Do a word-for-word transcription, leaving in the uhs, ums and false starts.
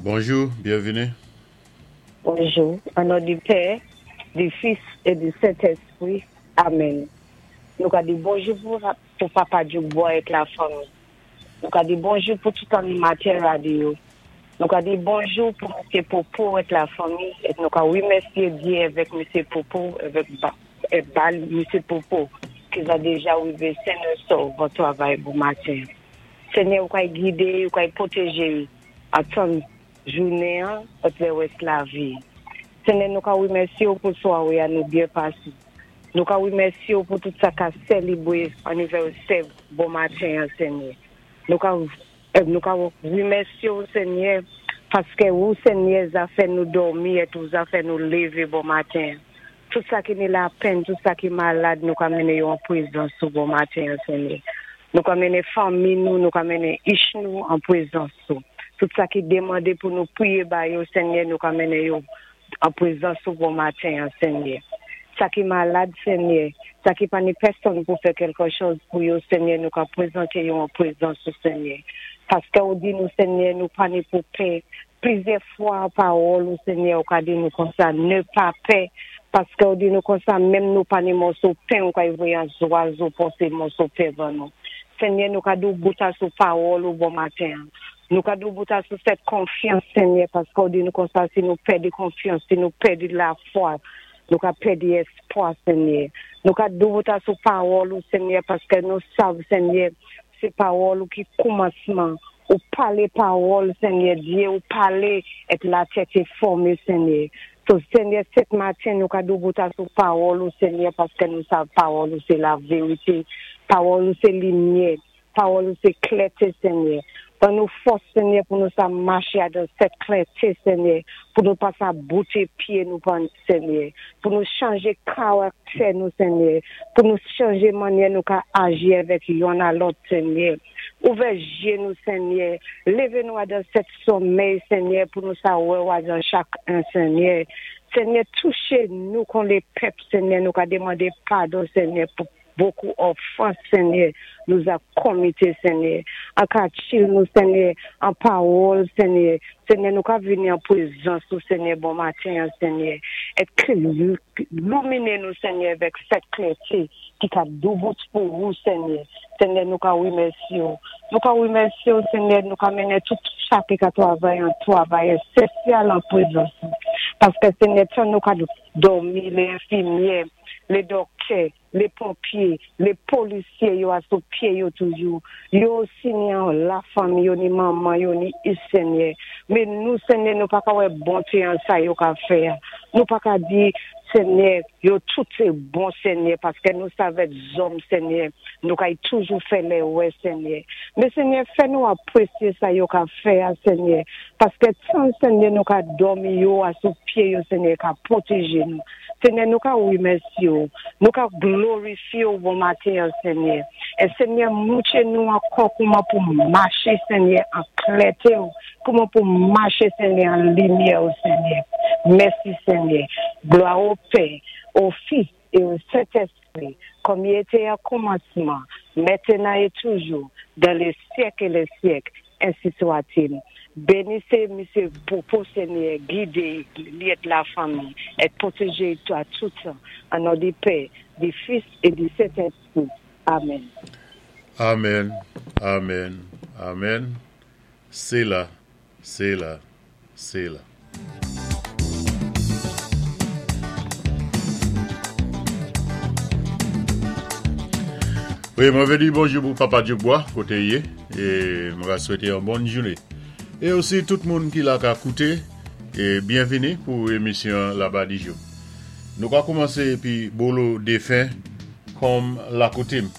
Bonjou, byenvini. Bonjou. An non di Pè, di Fis é di Sentèspwi. Amen. Nou ka di bonjou pou, pou Papa Djoukbois ak lafanmi. Nou ka di bonjou pou tout animatè radyo. Nou ka di bonjou pou Msye Popo ak lafanmi. É nou ka wimèsyé Dye avèk Msye Popo, avèk ba, é bal Msye Popo, ki za déja wivé sen é sòv an twavay bon maten. Senyè, ou kay gidé, ou kay pwotéjé, atan jounen, ak lè lavi. Senyè, nou ka wimèsyé ou pou swawé a nou byen pasé. Nou ka wimèsyé ou pou tout sa ka sélébwé anivèsè bon maten, Senyè. Nou ka, nou ka wimèsyé ou, Senyè, paské ou, Senyè, za fè nou dòmi é tou za fè nou lévé bon maten. Tout sa ki ni lapenn, tout sa ki malad, nou ka mennen yo an pwézans ou bon maten, Senyè. Nou ka mennen fanmi nou, nou ka mennen ich nou an pwézans ou. Tout sa ki demandé pou nou pwiyé ba yo, Senyè, nou ka mennen yo an pwézans ou bon maten, Senyè. Sa ki malad, Senyè, sa ki pa ni pèsonn pou fè kèlké chòz pou yo, Senyè, nou ka pwézanté yo an pwézans ou, Senyè. Paské ou di nou, Senyè, nou pa ni pou pè. Plizyè fwa pawòl ou, Senyè, ou ka di nou konsa, ne pa pè. Paské ou di nou konsa, menm nou pa ni mòso pen, ou ka voyé an zwazo posé mòso pen ban nou. Senyè, nou ka doubout asou pawòl ou bon maten. Nou ka doubout asou sèt konfyans, Senyè, paské ou di nou konsa, si nou pèdi konfyans, si nou pèdi lafwa, nou ka pèdi èspwa, Senyè. Nou ka doubout asou pawòl ou, Senyè, paské nou sav, Senyè, sé pawòl ou ki koumansman, ou palé pawòl, Senyè Dye, ou palé, é latè té fòmé, Senyè. So, Senyè, sèt maten, nou ka doubout asou pawòl ou, Senyè, paské nou sav pawòl ou, sé lavérité. Pawòl ou, sé limyè. Pawòl ou, sé klèté, Senyè. Ban nou fòs, Senyè, pou nou sa maché dan sèt klèté, Senyè, pou nou pa sa bouté pyé nou, Senyè, pou nou chanjé karaktè nou, Senyè, pou nou chanjé mannyè nou ka aji avèk youn a lòt, Senyè. Ouvè jé nou, Senyè, lévé nou dan sèt somèy, Senyè, pou nou sa wè dan chak en, Senyè. Senyè, touché nou kon lé pèp, Senyè, nou ka demandé padon, Senyè, pou bokou òfans, Senyè, nou za komité, Senyè. An ka chil nou, Senyè, an pawòl, Senyè. Senyè, nou ka vini an pwézans ou, Senyè, bon maten, Senyè. É louminé nou, Senyè, avèk sèt klèté ki ka doubout pou ou, Senyè. Senyè, nou ka wimèsyé ou. Nou ka wimèsyé ou, Senyè, nou ka mennen tout sa ki ka twavay an twavay ésansyèl an pwézans ou. Paské, Senyè, tan nou ka dòmi, lé enfimyè, lé dòktè, lé ponpyé, lé polisyé, yo asou pyé yo toujou. Yo osi ni an lafanmi, yo ni manman, yo ni ich, Senyè. Men nou, Senyè, nou pa ka wè bonté an sa yo ka fè. Nou pa ka di, Senyè, yo tout sé bon, Senyè, paské nou sav èt zòm, Senyè. Nou kay toujou fè lèrè, Senyè. Men Senyè, fè nou apwésyé sa yo ka fè, Senyè. Paské tan, Senyè, nou ka dòmi yo asou pyé yo, Senyè, ka pwotéjé nou. Senyè, nou ka wimèsyé ou. Nou ka glorifyé ou bon maten, Senyè. É Senyè, moutré nou ankò kouman pou maché, Senyè, an klèté ou. Kouman pou maché, Senyè, an limyè ou, Senyè. Mèsi, Senyè. Glwa o Pè, o Fis é o Sentèspwi, kòm i été o koumansman, mentnan é toujou, dan lé syèk é lé syèk, ensi swa-t-il. Bénisé, Msye Popo, Senyè, gidé li é lafanmi, é pwotéjé a tout tan. An non di Pè, di Fis é di Sentèspwi. Amen. Amen, amen, amen. Séla, séla, séla. Wi, mwen vlé di bonjou pou Papa Djoukbois, koté i yé, é mwen va swété yon bòn jouné. É osi tout moun ki la ka kouté, é byenvini pou émisyon Labadijou. Nou ka koumansé épi Bolo Défen kòm lakoutim.